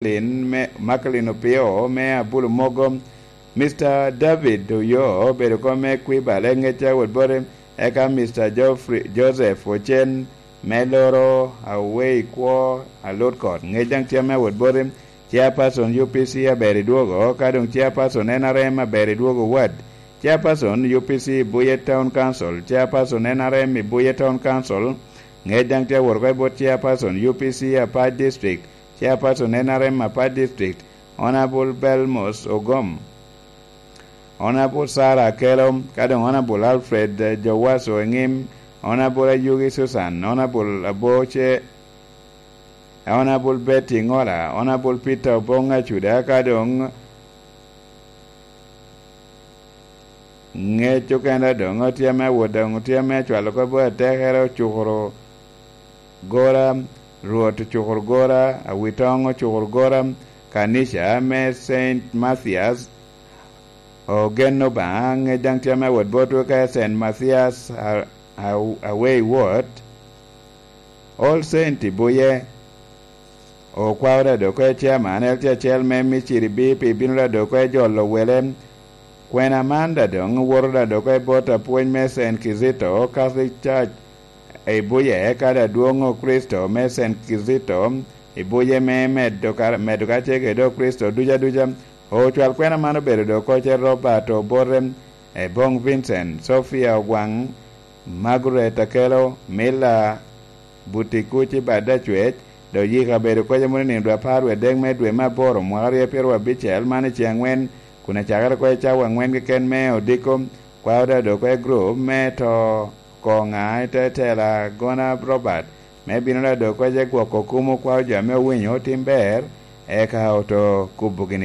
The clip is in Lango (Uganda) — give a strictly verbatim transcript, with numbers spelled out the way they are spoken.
Makalin me, Makalin Opio me Abulu Mogo, Mister David Oyo obedo kom me Kwibale Ŋecca wot bote, eka Mister Geoffrey Joseph Ocen me Loro Awei Kwo Alut Kot Ŋec daŋ tye ame wot bote, Chairperson U P C aber i dwogo, ka doŋ Chairperson N R M aber i dwogo wad, Chairperson U P C Buye Town Council, Chairperson N R M i Buye Town Council, Ŋec daŋ tye awot oko i bot Chairperson U P C Apac District, Chairperson N R M Apac District, Honorable Belmos Ogom, Honorable Sarah Akello, ka doŋ Honorable Alfred, eh, Jowaso Eŋim, Honorable Ayugi Susan, Honorable Aboce, Honorable Betty Ŋola, Honorable Peter Obong Acuda, ka doŋ Ŋec okene doŋ otye ame awot doŋ otye ame acwalo kop atekere ocukuro gora, Rwot ocukuro gora, Awitoŋ ocukuro gora, kanica me Saint Mathias, ogen Obaŋa, ŋec daŋ tye ame awot botwu ka Saint Mathias a, a, Awei Wot, All Saint i Buye, Okwao Dadoko e chairman, L T acel me Miciri B P bino Dadoko e jolo wele. Kwena man dadoŋ woto Dadoko e bot apwony me Saint Kizito Catholic Church i Buye, eka Dadwoŋ Okricito me Saint Kizito i Buye me medo ka, medo kacel kede Okricito duca duca. Ocwal kwena man obedo Dokoce Robert Obote, Ebong Vincent, Sophia Ogwaŋ, Margaret Akello, Mila Butikuci Badacwec, dok yika obedo koc amoni nino dwe apar wie adek me dwe me aboro mwaka aryo pyeraryo abicel man i ceŋ aŋwen, kun acakere oko i cawa aŋwen keken me odiko, kwao dado oko i gurup me to koŋa i te tela Gona Robert, me bino dado oko i gwoko kumo kwao jo ame owinyo otim ber, eka oto kubo gini